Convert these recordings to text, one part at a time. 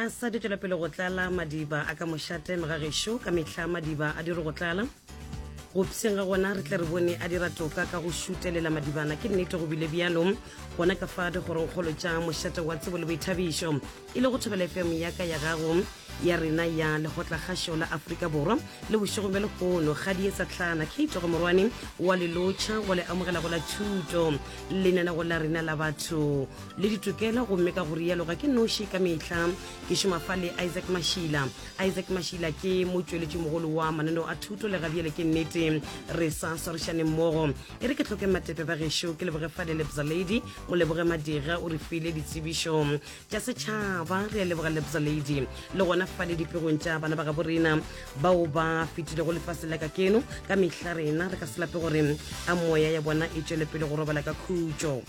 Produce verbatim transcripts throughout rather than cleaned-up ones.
A sa di tšwela pele go tlala madiba a ka mošate mogagešo, ka mehla madiba a diro go tlala. Go psheng ga gona re tle re bone a dira toka ka go šutelela madibana. Ke nnete go bile bjalo gona ka fa dikgorongkgolo tša mošate wa tsebo le boithabišo, e le go Thobela F M ya ka ya gago ya rena ya Lekgotlakgašo la Afrika Borwa. Le bošegong bja lehono kgadi e sa tlana Kate go morwane wa lelotšha wa le amogela go la thuto lenanego la rena la batho le ditokelo, gomme ka go rialo ga ke noši ka mehla ke šoma fa le Isaac Mashila. Isaac Mashila ke motšweletši mogolo wa mananeo a thuto le gabjale ke nnete re sa swarišane mmogo. E re ke hloke matepe ba gešo, ke leboge fale Lebza Lady, mo leboge Madira o re file ditsebišo tša setšhaba, re a leboga Lebza Lady. Le gona fale dipegong tša bana ba gabo rena bao ba fetilego lefase la ka keno, ka mehla rena re ka se lape gore a moya ya bona e tšwele pele go robala ka khutšo.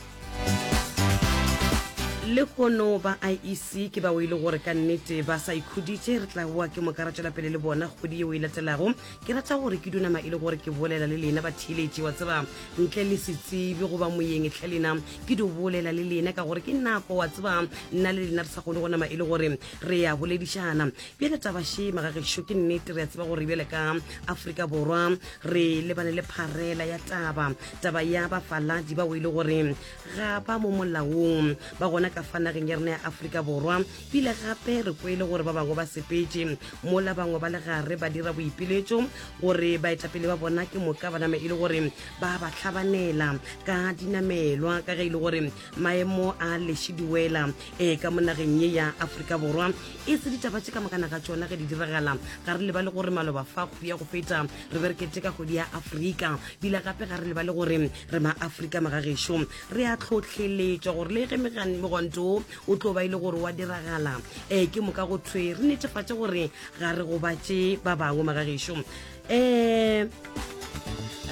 Lehono ba I E C ke bao e le gore ka nnete ba sa ikhuditše, re tla boa ke moka ra tšwela pele le bona kgwedi yeo e latelago. Ke rata gore ke dunama e le gore ke bolela le lena batheeletši, wa tseba ntle le setsebi goba moyeng hle lena ke di bolela le lena ka gore ke nako wa tseba nna le lena re sa kgone go nama e le gore re ya boledišana. Bjale taba še magagešo ke nnete re a tseba gore bjale ka Afrika Borwa re lebane le pharela ya taba, taba ya bafaladi bao e le gore ga ba mo molaong ba gona ka fa nageng ya rena ya Afrika Borwa. Bile gape re kwele gore ba bangwe ba sepetše mola bangwe ba le gare ba dira boipiletšo gore baetapele ba bona ke moka ba name e le gore ba ba hlabanela ka dinamelwa ka ge e le gore maemo a lešidiwela e ka mo nageng ye ya Afrika Borwa. E se ditaba tše ka mokana ga tšona ge di diragala, ga re lebale gore maloba fa kgwedi ya go feta re be re keteka kgwedi ya Afrika, bile gape ga re lebale gore re ma Afrika magagešo re a tlhotlheletšwa gore le ge megwanto o tlo ba e le gore wa diragala um ke moka go thwe re netefatše gore ga re gobatše ba bangwe magagešo. Um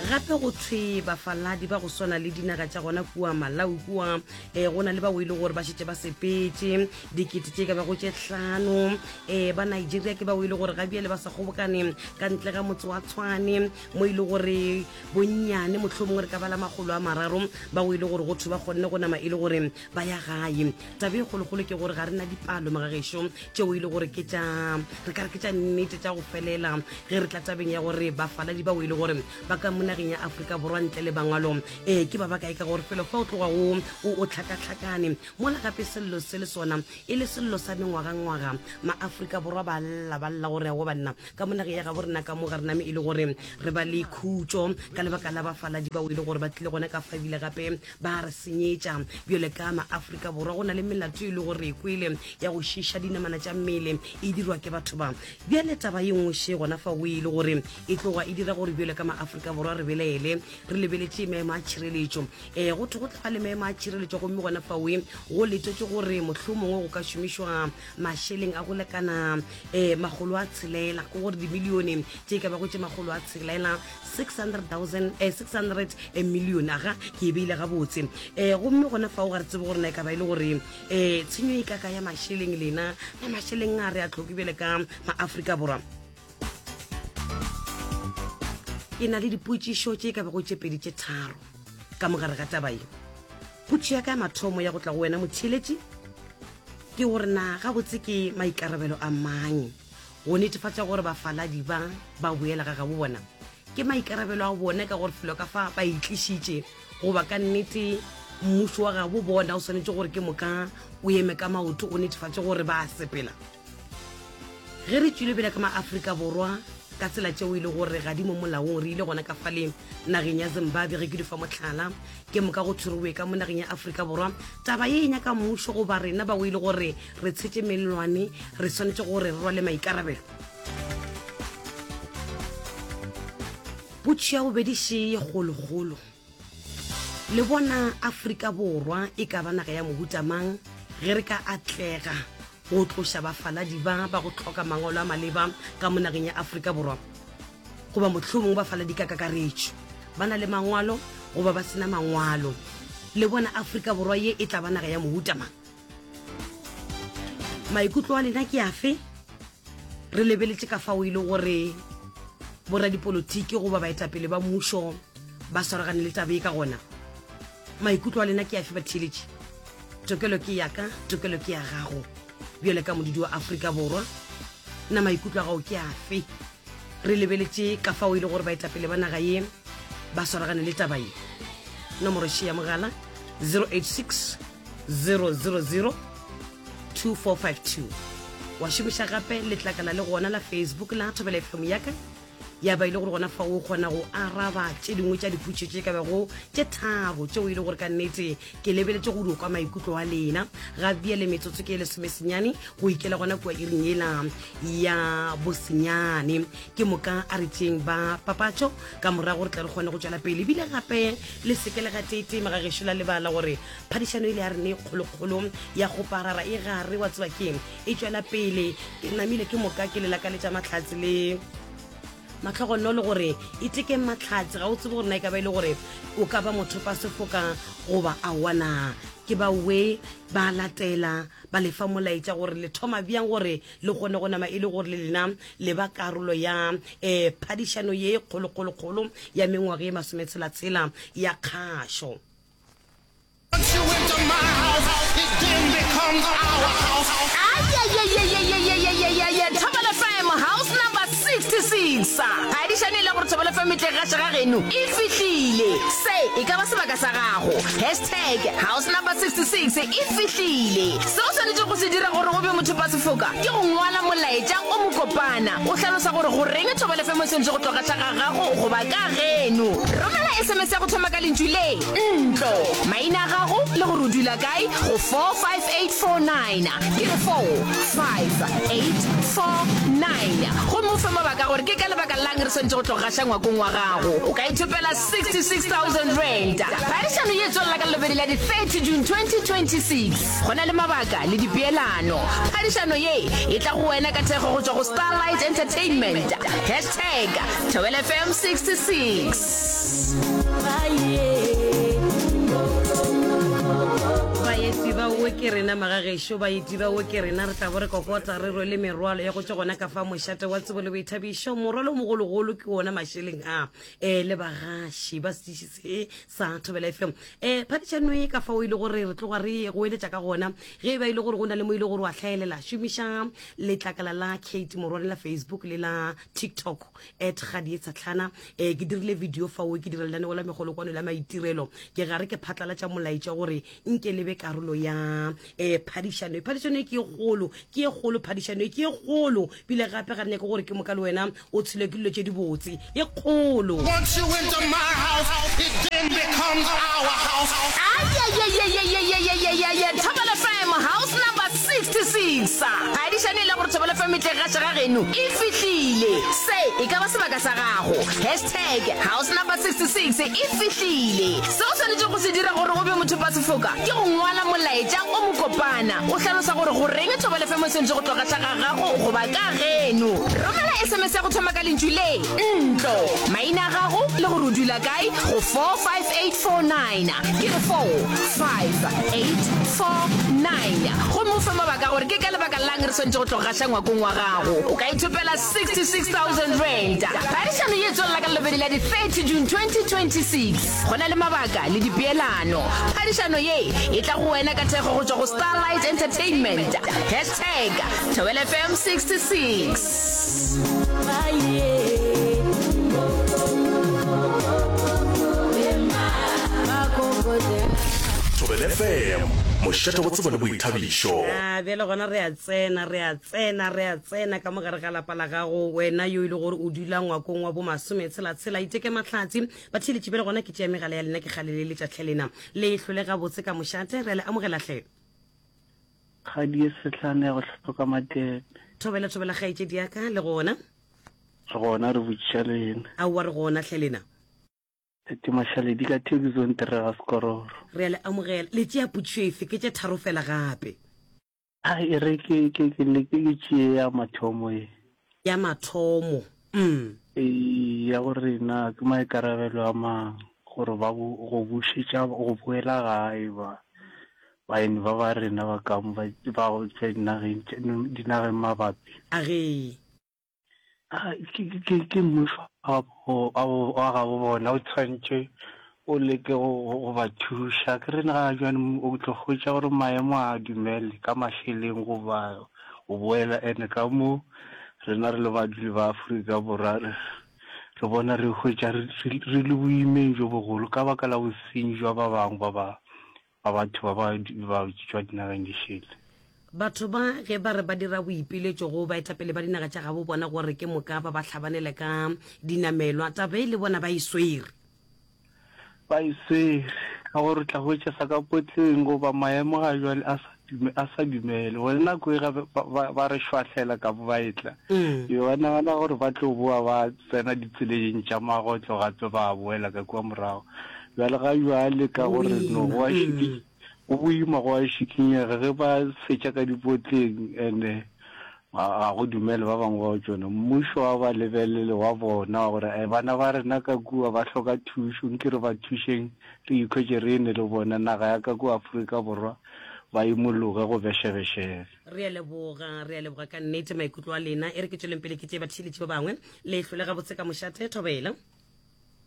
gape go thwe bafaladi ba go swana le dinaga tša gona kua Malawi kua um go na le bao e le gore ba šetše ba sepetše dikete tše ka bago tše hlano. Um ba Nigeria ke bao e le gore ga bjale ba sa kgobokane ka ntle ga motse wa Tshwane mo e le gore bonnyane mohlomongwe re ka bala makgolo a mararo bao e le gore go thwe ba kgonne go nama e le gore ba ya gae. Taba e kgolokgolo ke gore ga re na dipalo magagešo tšeo e le gore ke tša re ka re ke tša nnete tša go felela ge re tla tabeng ya gore bafaladi bao e le gore ba ka mo nageng ya Afrika Borwa ntle le bangwalo um ke ba bakae, ka gore felo fa o tloga o o tlhakatlhakane mola gape sello se le sona e le sello sa mengwagangwaga. Ma-Afrika Borwa ba lla ba lla gore aowa banna ka mo nageng ya gabo rena ka mo ga re name e le gore re ba le khutšo ka lebaka la bafaladi bao e le gore ba tlile gona ka fa ebile gape ba re senyetša. Bjale ka ma-Afrika Borwa go na le melato e le gore e kwele ya go šiša dinamana tša mmele e dirwa ke batho ba. Bjale taba ye nngwe še gona fa o e le gore e tloga e dira gore bjale ka ma-Afrika Borwa re belaele re lebeletše maemo a tšhireletšo. Um go thwe go tla ba le maemo a tšhireletšo gomme gona fa o go letetše gore mohlomongwe go ka šomišwa mašeleng a go lekana um makgolo a tshelela, ke gore dimilione tše ka bago tše makgolo a tshelela six hundred thousand eh, six hundred million aga ke e beile gabotse. Um gomme gona fao ga re tsebe gore na e ka ba e le gore um tshenyo e kaka ya mašeleng lena na mašeleng a re a tlhoke bjale ka ma-Afrika Borwa. Ke na le dipotšišo tše ka bago tše pedi tše tharo ka mogare ga taba ye. Potšišo ya ka ya mathomo ya go tla go wena motheeletši ke gore na gabotse ke maikarabelo a mang go netefatša gore bafaladi ba ba boela ga gabo bona? Ke maikarabelo a bona ka gore felo ka fa ba itlišitše, goba ka nnete mmušo wa gabo bona o swanetše gore ke moka o eme ka maoto o netefatše gore ba sepela? Ge re tšwile pele ka ma-Afrika Borwa ka tsela tšeo e le gore ga di mo molaong, re ile gona ka fale nageng ya Zimbabwe ge ke di fa mohlala, ke moka go thwerowe ka mo nageng ya Afrika Borwa. Taba ye e nyaka mmušo goba rena bao e le gore re tshetše mellwane re swanetše gore re rwale maikarabelo. Potšišo ya bobedi še ye kgolokgolo, le bona Afrika Borwa e ka ba naga ya mohuta mang ge re ka atlega go tloša bafaladi ba ba go hloka mangwalo a maleba ka mo nageng ya Afrika Borwa? Goba mohlomongwe bafaladi ka kakaretšo ba na le mangwalo goba ba sena mangwalo, le bona Afrika Borwa ye e tla ba naga ya mohuta mang? Maikutlo a lena ke afe? Re lebeletše ka fao e le gore boradipolotiki goba baetapele ba mmušo ba swaragane le taba ye ka gona. Maikutlo a lena ke afe batheeletši? Tokelo ke ya ka, tokelo ke ya gago. Bjale ka modudi wa Afrika Borwa, na maikutlo a gago ke afe? Re lebeletše ka fao e le gore baetapele ba naga ye ba swaragane le taba ye. Nomoro še ya mogala zero eight six zero zero zero two four five two. Wa šomiša gape letlakala le gona la Facebook la Thobela F M ya ka, ya ba e le gore gona fa o kgona go araba tše dingwe tša dipotšišo tše ka bego tše tharo tšeo e le gore ka nnete ke lebeletše go dio kwa maikutlo a lena. Ga bjale metsotso ke e lesomesenyane go ikela gona kua iring yela ya bosenyane. Ke moka a re tšeng ba papatšo ka morago re tla re kgone go tšwela pele. Ebile gape le seke le gateetee magagešo la lebala gore phadišano ile ya rena e kgolokgolo ya go parara e gare wa tseba keng e tšwela pele. Ke namile ke moka ke le lakaletša mahlatse le mahlogonolo gore e tekeng mahlatse. Ga o tsebe gore na e ka ba e le gore o ka ba mothopa sefoka goba aowa na. Ke ba we ba latela ba lefa molaetša gore le thoma bjang gore le kgone go nama e le gore le lena le ba karolo ya, eh, phadišano ye kgolokgolokgolo ya mengwaga ye masometshela-tshela ya kgašo. Once you enter my house, it then becomes our house. Ayayayayayayayayaya, Thobela F M, house number sixty-six. Phadišano e le gore Thobela F M e tle gaša ga geno e fihlile. Se e ka ba sebaka sa gago. Hashtag house number sixty-six e fihlile. Se o swanetše go se dira gore o be mothopa sefoka ke go ngwala molaetša o mokopana o hlalosa gore goreng Thobela F M e swanetše go tlo gaša ga gago goba ka geno. Romela S M S ya go thoma ka lentšu le ntlo, maina a gago le gore o dula kae go four five eight four nine. Ke re four five eight four nine. Gomme o fe mabaka gore ke ka lebaka lang re swanetše go tlo gaša ngwakong wa gago. O ka ithopela sixty-six thousand rand. Phadišano ye e tswelela ka lebedi la di thirty June twenty twenty-six. Go na le mabaka le dipeelano. Phadišano ye e tla go wena ka thekgo go tšwa go Starlight Entertainment. Hashtag Thobela F M sixty-six. Baeti ba o ke rena magagešo, baeti ba o ke rena, re tla bo re kokota re rwele merwalo ya go tšwa gona ka fa mošate wa tsebo le boithabišo. Morwalo o mogologolo ke wona mašeleng a, eh, le bagaši ba setiši se sa Thobela F M. Eh, phadišano e ka fao e le gore re tloga re go eletša ka gona. Ge e ba e le gore go na le mo e le gore wa hlaelela, šomiša letlakala la Kate Morwane la Facebook le la TikTok at Kgadi Tshatlhana. Eh, ke dirile video fao, ke dira lenaneo la megolokwano la maitirelo. Ke gare ke phatlalatša molaetša gore nke le be karolo ya, eh, phadišano. Phadišano e ke e kgolo, ke e kgolo, phadišano e ke e kgolo. Bile gape ga re nyake gore ke moka le wena o tshelwe ke dilo tše dibotse. E kgolo. Once you enter my house, it then becomes our house. Ayayayayayayayayaya, Thobela F M, house number sixty-six. Phadišano e le gore Thobela F M e tle gaša ga geno e fihlile. Se e ka ba sebaka sa gago. Hashtag house number sixty-six e fihlile. Se o swanetše go se dira gore o be mothopa sefoka ke go ngwala molaetša o mokopana o hlalosa gore goreng Thobela F M e swanetše go tlo gaša ga gago goba ka geno. Romela S M S ya go thoma ka lentšu le ntlo, maina a gago le gore o dula kae go four five eight four nine. Ke re four five eight four nine. Gomme o fe mabaka gore ke ka lebaka lang re swanetše go tlo gaša ngwakong wa gago. O ka ithopela sixty-six thousand rand. Phadišano ye e tswelela ka lebedi la di thirty June twenty twenty-six. Go na le mabaka le dipeelano. Phadišano ye e tla go wena ka thekgo go tšwa go Starlight Entertainment. Hashtag Thobela F M sixty-six. Thobela F M, mošate wa tsebo le boithabišo. Ah, bjale gona re a tsena, re a tsena, re a tsena ka mogare ga lapa la gago. Wena yo e le gore o dula ngwakong wa bo masometshela-tshela, iteke mahlatse. Batheeletši bjale gona ke tšea megala ya lena, ke kgale le letša hle lena. Le hlole gabotse ka mošate, re a le amogela hle. Kgadi e sehlane ya go hloka matepe. Thobela, thobela kgaetšedi ya ka, le gona? Re gona, re botšiša lena. Aowa, re gona hle lena. Tate Mašaledi ka Thekizong Terega Sekororo. Re a le amogela. Le tšea potšišo efe? Ke tše tharo fela gape. Ai, e re ke, ke, ke leke ke tšee ya mathomo ye. Ya mathomo, mm. Ee, ya gore na ke maikarabelo a mang gore ba bo, go bušetša, go boela gae ba, baeng ba ba rena ba ka mo ba, ba go tšwa dinageng tše, dinageng mabapi. A ge. Ah, ke, ke, ke, ke mmušo wa bo, wa bo, wa gabo bona o tshwanetše o leke go, go, go ba thuša. Ke re ga jwale o tlo hwetša gore maemo a dumele ka mašeleng goba go boela ene ka mo rena re le badudi ba Afrika Borwa re, re bona re hwetša re, re, re le boimeng bjo bogolo ka baka la bosenyi jwa ba bangwe ba ba ba batho ba ba ba tšwa dinageng di šele. Batho ba ge ba re ba dira boipiletšo go baetapele ba dinaga tša gabo bona gore ke moka ba ba hlabanele ka dinamelwa, taba e le bona ba e swere. Ba e swere ka gore tla hwetša sa ka potleng goba maemo ga jwale a sa dume, a sa dumele. Bona nako e gape ba, ba, ba re šwahlela ka bo ba etla. Mm. Ke ba nagana gore ba tlo boa ba tsena ditseleng tša magotlo gape ba boela ka kua morago. Bjale ga jwale ka Go gore no boima. go a Mm. šiki, go boima go a šikinyega ge ba fetša ka dipotleng ene ga ga go dumele ba bangwe ba tšona. Mmušo wa ba lebelele wa bona gore eh, bana ba rena ka kua ba hloka thušo, nke re ba thušeng re ikhwetše re ene le bona naga ya ka kua Afrika Borwa ba imologe go bešebešebe. Re a leboga, re a leboga ka nnete maikutlo a lena. E re ke tšweleng pele ke tšee batheeletši ba bangwe. Le hlole gabotse ka mošate, thobela.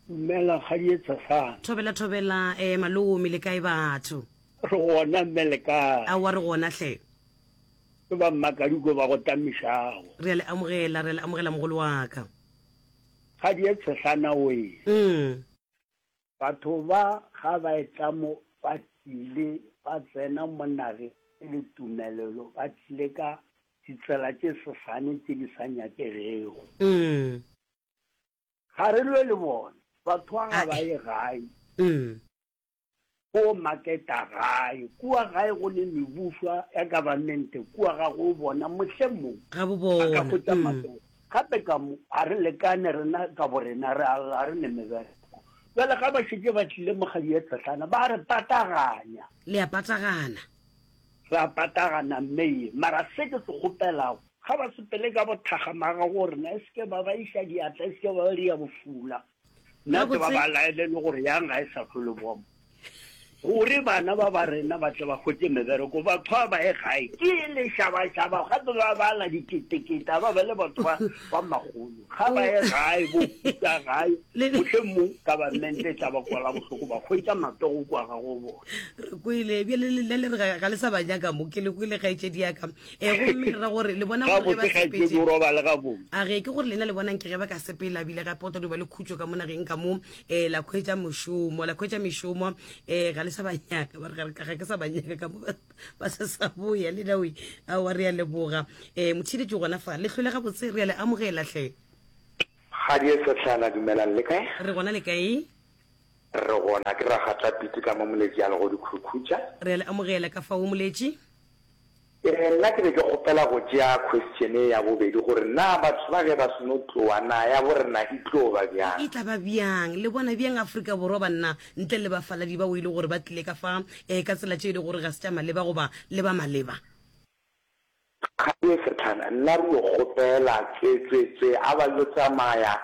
Dumela kgadi e tshesane. Thobela, thobela, eh, malome, le kae batho? Re gona mme le kae? Aowa re gona hle. Ke ba Mmakadiko ba go tamišago. Re a le amogela, re a le amogela mogolo wa ka. Kgadi e tshesana oe. Mm. Batho ba ga ba etla mo ba tlile ba tsena mo nageng e le tumelelo, ba tlile ka ditsela tše sesane tše di sa nyakegego. Mm. Ga re lwe le bona, batho ba ga ba ye gae. Mm. Go maketa gae, kua gae go ne mebušwa ya government, kua ga go bona mohlomong Ga bo ba ka bona. hwetša Mm. matsogo. Gape ka mo ga re lekane rena ka borena, re a lla re ne mebereko. Bjale ga ba šetše ba tlile mokgadi ye tshehlana, ba re pataganya. Le a patagana. Re a patagana mme ye. Mara se ke se kgopelago, ga ba sepele ka bothakga maga go rena, e se ke ba ba iša diatla, e se ke ba ba dia bofula. Nna ke ba Gabotse. ba laele le gore yang ga e sa hlole bomo. Gore bana ba ba rena ba tle ba hwetše mebereko, batho ba ba ye gae ke lešabašaba, gape ba bala diketekete, ba ba le batho ba ba magolo. Ga ba ye gae, bo puta gae, Le- mohlomong government e tla ba kwala bohloko, ba hwetša matsogo kua ga go bona. Re kwele bjale le le re ga ga le sa ba nyaka mo, ke le kwele kgaetšedi ya ka. Eh, gomme re ra gore le bona gore ge ba Gabotse kgaetšedi sepetše o robale gabotse. A ge ke gore lena le bonang ke ge ba ka sepela bile gape go tla no ba le khutšo ka mo nageng ka mo, eh, la khwetša mošomo, la khwetša mešomo, eh, ga le sa ba nyaka, ba re ga ga ke sa ba nyaka ka mo, ba, ba se sa boya le nawe. Aowa re a leboga. Eh, motheeletši gona fa, le hlole gabotse, re a le amogela hle. Kgadi e sehlana, dumelang le kae? Re gona le kae? Re gona, ke Ragatla Piti ka mo Moletši a lego dikhukhutša. Re a le amogela ka fao Moletši. Eh, nna ke be ke kgopela go tšea question e ya bobedi gore na batho ba ge ba seno tloa na ya bo rena e tlo ba bjang? E tla ba bjang? Le bona bjang Afrika Borwa banna ntle le bafaladi bao e le gore ba tlile ka fa, eh, ka tsela tše e le gore ga se tša maleba goba le ba maleba? Kgadi e sehlana, nna re yo kgopela tswe tswe tswe a ba yo tsamaya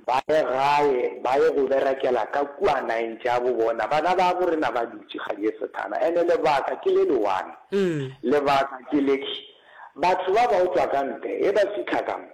ba ye gae ba ye go berekela ka kua nageng tša bo bona. Bana ba bo rena ba dutše kgadi e sehlana. Ene lebaka ke le le one. Mm. Lebaka ke le ke batho ba ba o tšwa ka ntle ge ba fihla ka mo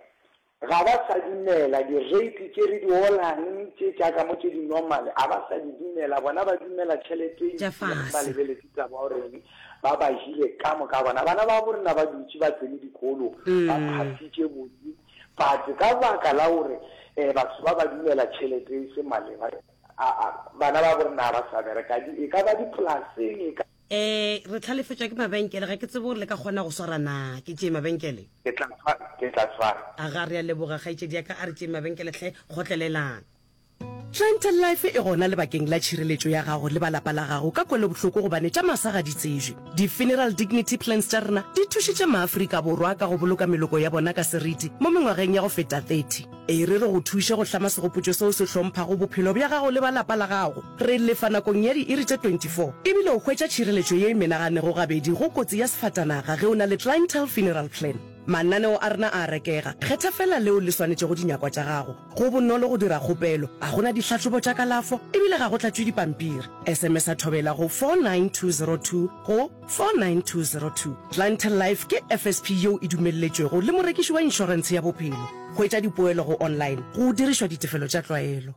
ga ba sa dumela di-rate tše re di olang tše tša ka mo tše di normal, a ba sa di dumela. Bona ba dumela tšhelete e Tša ntši ba fase. lebeletse taba ya gore ba ba jile ka moka bona. Bana ba bo rena ba dutše ba tsene dikolo, ba Mm. phasitše botse, but ka baka la gore eh, batho ba ba dumela tšhelete e se maleba, a, a, bana ba bo rena ba sa bereka, di, e ka ba dipolaseng, e ka Eh, re tlhalefetšwa ke mabenkele, ga ke tsebe gore le ka kgona go swara na. Ke tšee mabenkele? Ke tla tshwara, ke tla tshwara. A ga re a leboga kgaetšedi ya ka, a re tšee mabenkele hle, kgotlelelang. Clientele Life e gona lebakeng la tšhireletšo ya gago le ba lapa la gago ka kwelobohloko gobane tša masa ga di tsejwe. Di-funeral dignity plans tša rena di thušitše maAfrika Borwa ka go boloka meloko ya bona ka seriti mo mengwageng ya go feta thirty. E re re go thuše go hlama segopotšo seo se hlomphago bophelo bja gago le ba lapa la gago. Re lefa nakong ya diiri tše twenty-four ebile o hwetša tšhireletšo ye e menaganego gabedi go kotsi ya sefatanaga ge o na le Clientele Funeral Plan. Mananeo a rena a a rekega, kgetha fela leo le swanetšego dinyakwa tša gago. Go bonolo go dira kgopelo, ga go na dihlahlobo tša kalafo ebile ga go tlatšwe dipampiri. S M S a thobela go four nine two zero two go four nine two zero two. Clientele Life ke F S P yeo e dumelletšwego le morekiši wa inšorentshe ya bophelo. Hwetša dipoelo go online go dirišwa ditefelo tša tlwaelo.